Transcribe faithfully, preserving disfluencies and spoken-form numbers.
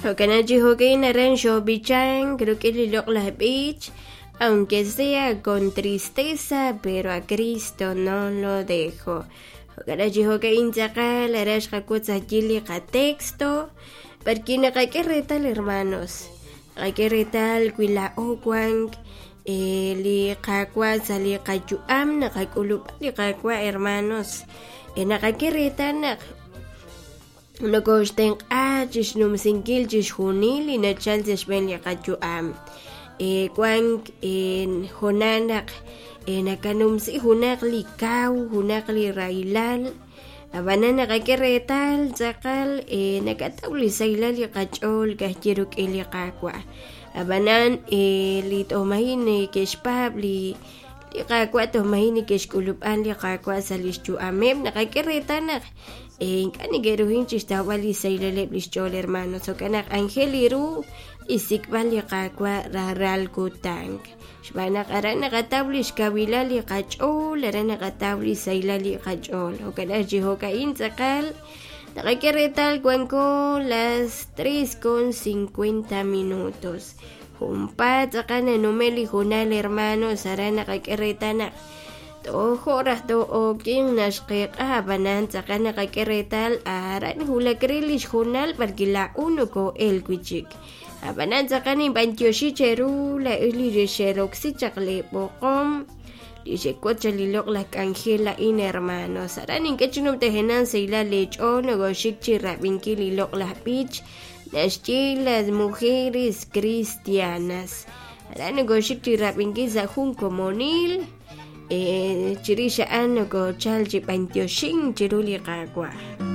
Jo'kan chi jo'kan aran xob'ichank rik'in li loq'laj b'ich, aunque sea con tristeza, pero a Cristo no lo dejo. Jo'kan chi jo'kan tz'aqal aran xqawotz ajwi' li qatexto porque naqak'e reetal, hermanos, naqak'e reetal wi laa'o wank li Qaawa' sa' li qayu'am, naqak'ulub'a li Qaawa', hermanos, naqak'e reetal naq nokoxtenq'a chixnumsinkil chixjunil li nachal sa' xb'een li qayu'am. Wank hoonal naq nakanumsi junaq li kaw, junaq li rahilal, ab'anan naqak'e reetal tz'aqal nakataw li sahilal li qach'ool ka'ajwi' rik'in li Qaawa'. Ab'anan li t'omahin neke'xpaab' li li Qaawa', toj maji' neke'xk'ulub'a li Qaawa' sa' li xyu'ameb', naqak'e reetal naq ink'a' neke'ruhin chixtawb'al li sahilaleb' li xch'ool, hermanos. Jo'kan naq anjel ru xsik'b'al li Qaawa' rajlal kutan, xb'aan naq aran naqataw li xkawilal li qach'ool, aran naqataw li sahilal li qach'ool. Jo'kan chi jo'ka'in tz'aqal naqak'e reetal wanko las tres con cincuenta minutos. Junpaat tz'aqal nanume' li hoonal, hermanos, aran naqak'e reetal naq tojo' raj to'okin naxqeq'a, ab'anan tz'aqal naqak'e reetal aran wulak re li xhoonal porque laa'o noko'el wi' chik. Ab'anan tz'aqal ninb'antioxi cheru laa'ex li xeroksi chaq li b'oqom li xewotz chaq li loq'laj k'anjel a'in, hermanos. Aran nink'e chi numtajenaq sahilal leech'ool nokoxik chi rab'inkil li loq'laj b'ich naxye "Las mujeres cristianas". Aran nokoxik chi rab'inkil sa' jun komonil, chirix a'an nokochal chi b'antioxink chiru li Qaawa'.